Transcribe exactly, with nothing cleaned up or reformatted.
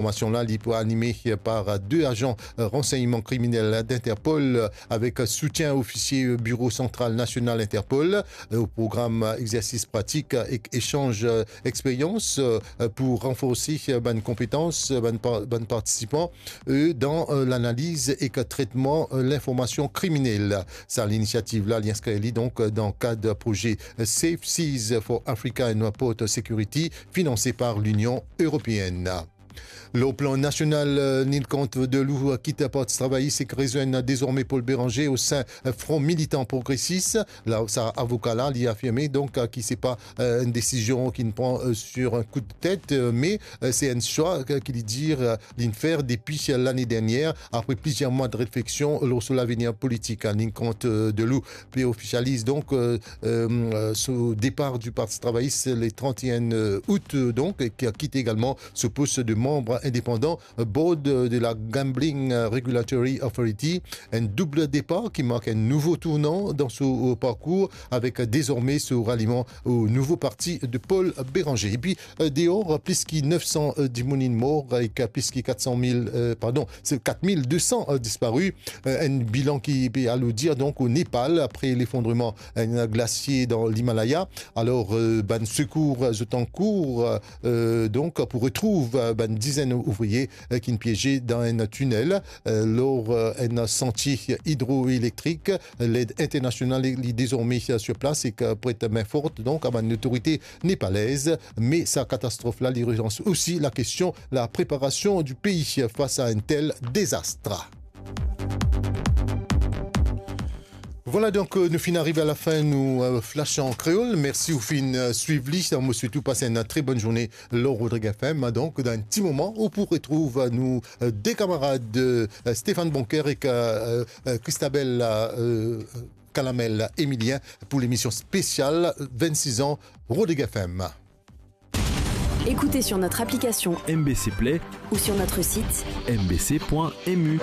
Formasion la, li pou anime par de azan ransegnman kriminel d'Interpol avek soutien ofisie Biro Santral Nasional Interpol. Program exersis pratik ek esanz experyans pou ranforse bann konpetans bann pa-, bann partisipan, e, dan, e, lanaliz ek tretman, e, linformasion kriminel. Sa linisiativ la, li inskrir li donk dan kad proze Safe Seas for Africa and Port Security, finanse par Linion Eropeenn. Lor plan nasional, e, Nicandre Deloue, e, kit Parti Travayis ek rezwenn dezorme Paul Bérenger o sin, e, Front Militant Progresis. La, sa avoka la, li afirme donk, e, ki se pa, e, enn desizion ki li pran, e, sur un coup de tête, e, me, e, se enn swa, e, ki li dir, e, li'nn fer depi lane dernier, apre plizier mwa de refleksion lor so lavenir politik. Nicandre, e, Deloue pe ofisializ donk, e, e, so depar du Parti Travayis le trente et un, e, out, e, donk, e ki a kite egalman so pos de manm indepandan, e, board, e, de la Gambling, e, Regulatory Authority. Enn doub depar ki mark enn nouvo tournan dan so, e, parkour, avek dezorme so raliman o nouvo parti de Paul Bérenger. Epi, e, deor, plis ki nef san, e, dimoun inn mor, ek plis ki kat san mil, e, pardon, se kat mil de san, e, dispari. E, enn bilan ki pe alourdir, donk, o Nepal, apre lefondreman enn glasie dan Limalaya. Alor, e, bann sekour, e, zot ankour, e, donk, pou retrouv, e, bann dizenn ouvriye, e, ki'nn pieze dan enn tinel, e, lor, e, enn santie idroelektrik. Led internasional, li, li dezorme, e, sur plas ek, e, pret min for, donk, a bann lotorite nepalez. Me sa katastrof la, li relans osi lakestion lapreparasion di pei fas a enn tel dezas. Vwala, donk, e, nou finn ariv a lafin nou, e, flash an kreol. Mersi ou finn, e, swiv li. Mo swet ou pas enn tre bonn zourne lor Rodrig F M. Donk, dan enn ti moman, ou pou retrouv, e, nou, e, de kamarad, e, Stéphane Bonker ek, e, e, Christabel, e, Calamel Emilien pou lemision spesial vennsis an Rodrig F M. Écoutez sur notre application M B C Play ou sur notre site M B C point M U.